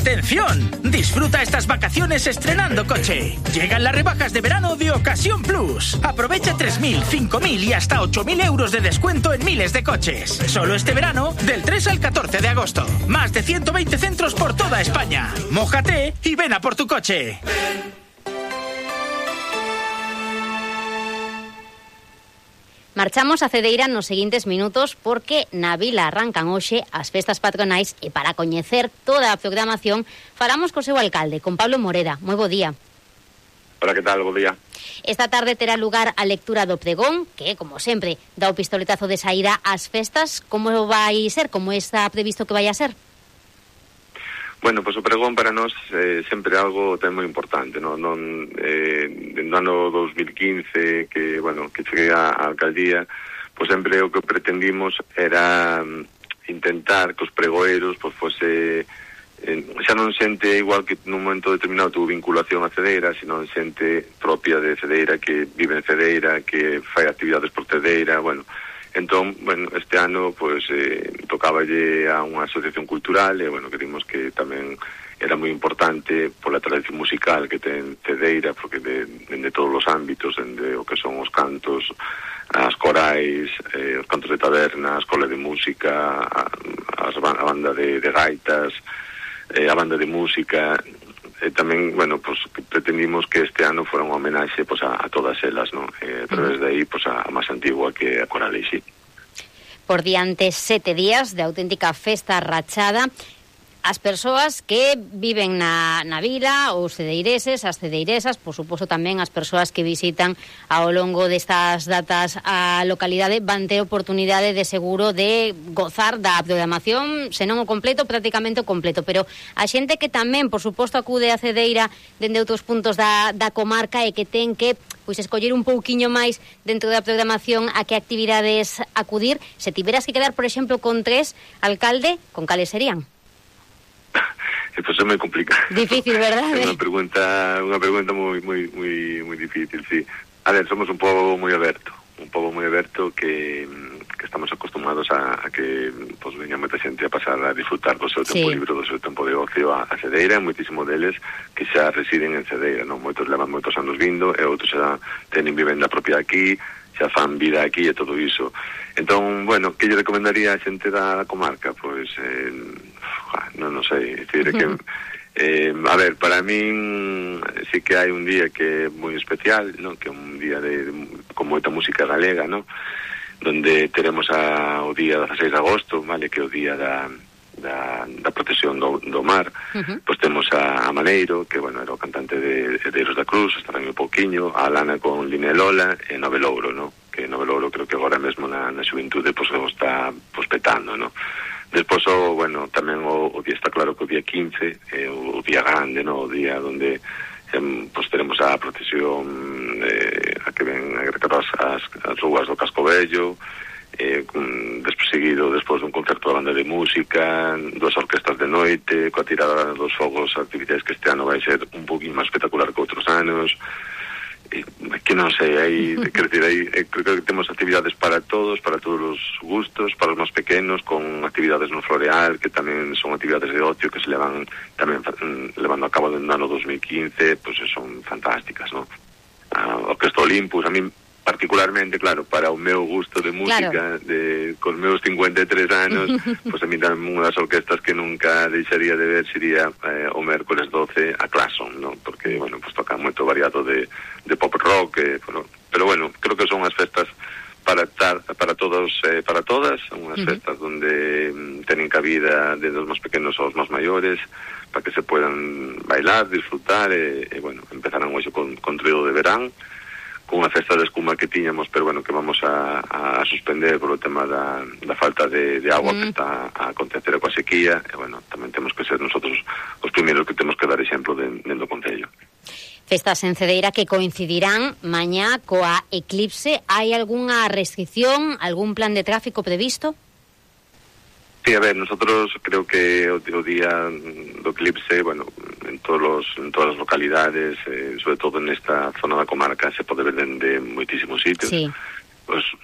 ¡Atención! Disfruta estas vacaciones estrenando coche. Llegan las rebajas de verano de Ocasión Plus. Aprovecha 3.000, 5.000 y hasta 8.000 euros de descuento en miles de coches. Solo este verano, del 3 al 14 de agosto. Más de 120 centros por toda España. Mójate y ven a por tu coche. Marchamos a Cedeira nos seguintes minutos porque na vila arrancan hoxe as festas patronais e para coñecer toda a programación falamos co seu alcalde, con Pablo Moreda. Moi bo día. Hola, que tal? Bo día. Esta tarde terá lugar a lectura do pregón, que, como sempre, dá o pistoletazo de saída ás festas. Como vai ser? Como está previsto que vai a ser? Bueno, pois o pregón para nós sempre algo ten moi importante, no ano 2015 que cheguei á alcaldía, pois sempre o que pretendimos era intentar que os pregoeiros pois fose xa non xente igual que nun momento determinado tuvo vinculación a Cedeira, sino xente propia de Cedeira, que vive en Cedeira, que fai actividades por Cedeira, Entón, este ano, tocáballe a unha asociación cultural e, querimos que tamén era moi importante pola tradición musical que ten Cedeira, porque dende todos os ámbitos, dende o que son os cantos, as corais, os cantos de taberna, a escola de música, a banda de gaitas, a banda de música, tamén, pretendimos que este ano fora unha homenaxe a todas elas, ¿no? A través de aí, a máis antigua que a Coral Eixí. Por diante 7 días de auténtica festa rachada. As persoas que viven na vila, os cedeireses, as cedeiresas, por suposto tamén as persoas que visitan ao longo destas datas a localidade, van ter oportunidade de seguro de gozar da programación, senón o completo, prácticamente o completo, pero a xente que tamén, por suposto, acude a Cedeira dende outros puntos da comarca e que ten que escoller un pouquiño máis dentro da programación a que actividades acudir, se tiveras que quedar, por exemplo, con 3, alcalde, con cales serían? Pois é moi complicado. Difícil, verdade? É unha pregunta moi difícil, sí. A ver, somos un pobo moi aberto que estamos acostumados a que veña moita xente a pasar a disfrutar do seu tempo libre, do seu tempo de ocio a Cedeira, moitísimo deles que xa residen en Cedeira, non? Moitos levan moitos anos vindo e outros xa tenen vivenda propia aquí, xa fan vida aquí e todo iso. Entón, que lle recomendaría a xente da comarca? Pois, non sei, decir que a ver, para min sí que hai un día que é moi especial, ¿no? Que é un día con moita música galega, ¿no? Donde teremos o día 16 de agosto, vale, que é o día da protección do mar. Pois temos a Maneiro, que, era o cantante de Herdeiros da Cruz, estará un pouquiño, a Lana con Linelola e Novelouro, ¿no? Que Novelouro creo que agora mesmo na xuventude o está petando, ¿no? Despois, tamén o día está claro que o día 15 é o día grande, ¿no? O día onde teremos a procesión a que ven a recatar as rúas do Casco Vello, seguido despois dun concerto da banda de música, 2 orquestas de noite, coa tirada dos fogos, actividades que este ano vai ser un poquinho máis espectacular que outros anos. Que non sei, creo que temos actividades para todos os gustos, para os máis pequenos, con actividades no floreal, que tamén son actividades de ocio que se levan tamén levando a cabo no ano 2015, son fantásticas, ¿no? A Orquesta Olympus, a mí particularmente, claro, para o meu gusto de música, con meus 53 anos, a mí tamén unha das orquestas que nunca deixaría de ver sería o mércoles 12 a Claxon, ¿no? Porque, toca moito variado de pop rock, pero creo que son unhas festas para todos e para todas, son unhas festas onde tenen cabida desde os máis pequenos aos máis maiores, para que se puedan bailar, disfrutar empezarán hoxe con trío de verán, con unha festa de espuma que tiñamos, pero que vamos a suspender por o tema da falta de agua que está a acontecer coa sequía, e tamén temos que ser nosotros os primeiros que temos que dar exemplo dentro do Concello. Festas en Cedeira que coincidirán mañá coa eclipse. Hai algunha restricción, algún plan de tráfico previsto? Sí, a ver, nosotros creo que o día do eclipse, en todas as localidades, sobre todo nesta zona da comarca, se pode ver dende moitísimos sitios. Sí. Pues